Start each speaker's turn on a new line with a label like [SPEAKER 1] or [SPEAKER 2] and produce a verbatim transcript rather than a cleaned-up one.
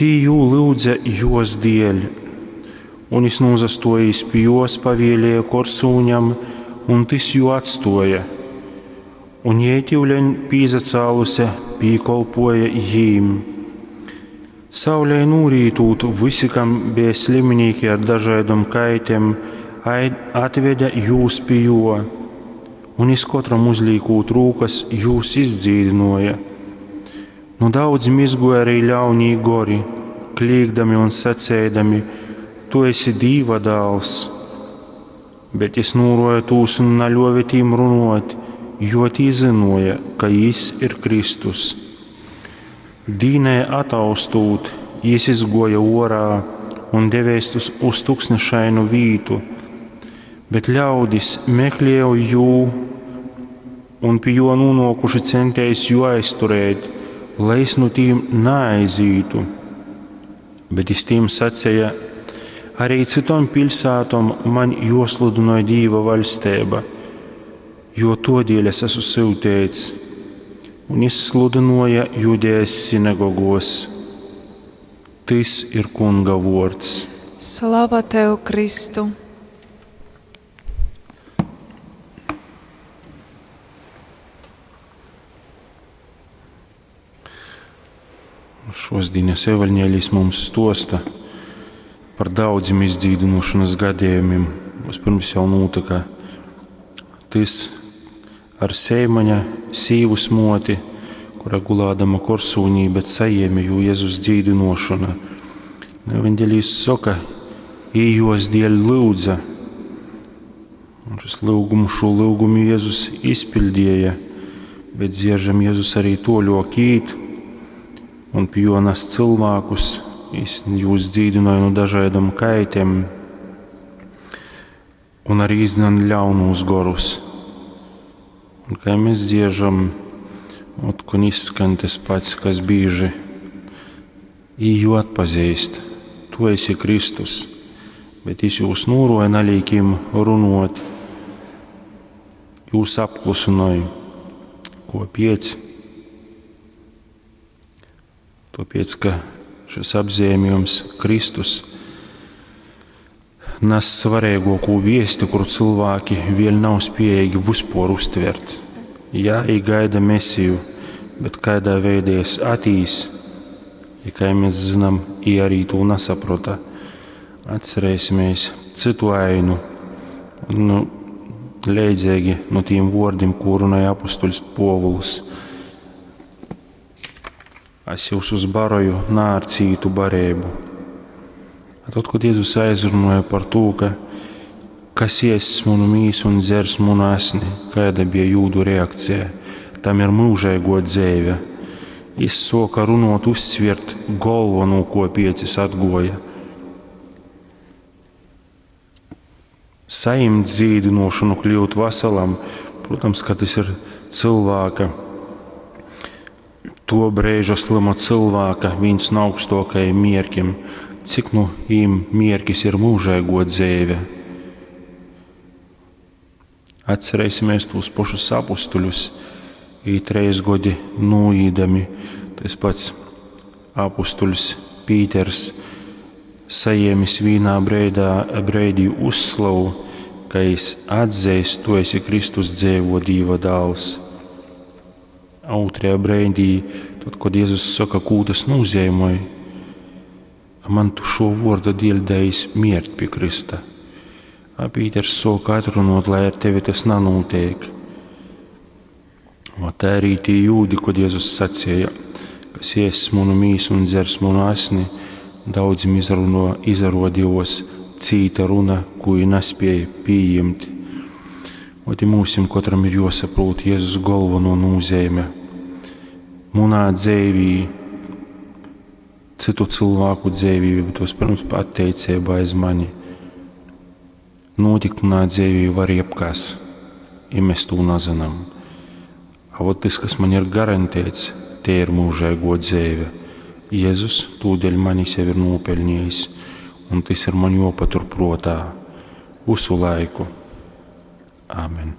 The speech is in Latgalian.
[SPEAKER 1] Tī jū lyudze juos dieļ. Un jis nūsastuojīs pi juos, pavielēja korsūņam, un tys jū atstuoja. Un jei tiuleņ pīsacāluse pīkolpuoja jīm. Saulei nūrītūt, vysi, kam beja sliminīki ar dažaidom kaitem, atvede jūs pi juo, un jis kotram uzlīkūt rūkas, jūs izdzīdynuoja. Nu daudzim izguoja arī ļaunī gori, klīgdami un saceidami: Tu esi Dīva dāls. Bet jis nūruoja tūs un naļuove tīm runuot, jo tī zynuoja, ka jis ir Kristus. Dīnai ataustūt, jis izguoja uorā un devēs uz, uz tuksnešainu vītu, bet ļaudis meklēja jū un pi juo nūnuokuši centēs jū aizturēt, lai jis nu tīm naaizītu. Bet jis tīm saceja: Arī cytom piļsātom maņ juosludynoj Dīva vaļsteiba, jo tuodieļ es esmu syuteits. Un jis sludynuoja Judejas sinagogos. Tys ir Kunga vuords.
[SPEAKER 2] Slava tev, Kristu!
[SPEAKER 1] Šos dienas evaņģēlijs mums stosta par daudzim izdzīdinošanas gadījumiem. Vispirms jau notika tys ar Seimaņa sīvas moti, kura gulādama korsūnī, bet sajiemi jū Jēzus dzīdinošana. Evaņģēlijs soka, ījos dieļ lūdza. Un šis lūgumu, šo lūgumu Jēzus izpildīja, bet dzieržam Jēzus arī toļok īt un pie juo nes cilvēkus, jis jūs dzīdināja no dažādām kaitēm un arī izdzen ļaunus gorus. Un kā mēs dziežam, otkon izskan tas pats, kas bīži īju atpazīst, tu esi Kristus, bet jis jūs nūroja nalīkim runot, jūs apklusināja. Ko piec? Tāpēc, ka šis apzīmējums Kristus nes svarīgāko viesti, kuru cilvēki vēl nav spējīgi vispār uztvert. Jā, i gaida Mesiju, bet kādā veidā es atīs, ja kā mēs zinām, i arī to nesaprota. Atcerēsimies citu ainu, nu, leidzīgi no tiem vārdiem, ko runāja apustuļs Povuls. Es jūs uzbaroju nā ar cītu barību. Tad, kad Jēzus aizrunāja par to, ka kas ies manu mīsu un dzers manu asni, kāda bija jūdu reakcija, tam ir mūžīgo dzēve. Jis soka runot uzsviert galveno, ko piecis atgoja. Sajimt dzīdinošanu, kļūt veselam, protams, ka tas ir cilvēka, to brīža slima cilvēka viens no augstākajiem mierkiem, cik nu īm mierkis ir mūžīgo dzēve. Atcerēsimies tos pašus apustuļus, ī treis godi nūīdami, tas pats apustuļs Pīters sajēmis vīnā breidā, breidī uzslavu, ka jis atzeist, tu esi Kristus dzēvo Dīva dāls. Otrajā breidī, tad, kad Jēzus saka, kū tas nozīmē, man tu šo vārdu dēļ dējis miert pie Krista. A Pīters soka atrunot, lai ar tevi tas nanotiek. O tā arī tie jūdi, kad Jēzus sacīja, kas ies manu mīsu un dzers manu asni, daudzim izruno, izarodījos cīta runa, ko i nespēja pieņemt. Ot, i mūsim katram ir jāsaprot Jēzus galveno nozīme. Munā dzēvī, citu cilvēku dzēvī, bet vispirms pateicība aiz mani. Notikt munā dzēvī var jebkas, ja mēs to nezinām. A vot tas, kas man ir garantēts, te ir mūžīgo dzēve. Jēzus tūdeļ mani sev ir nopelnījis, un tas ir man jāpatur prātā visu laiku. Āmen.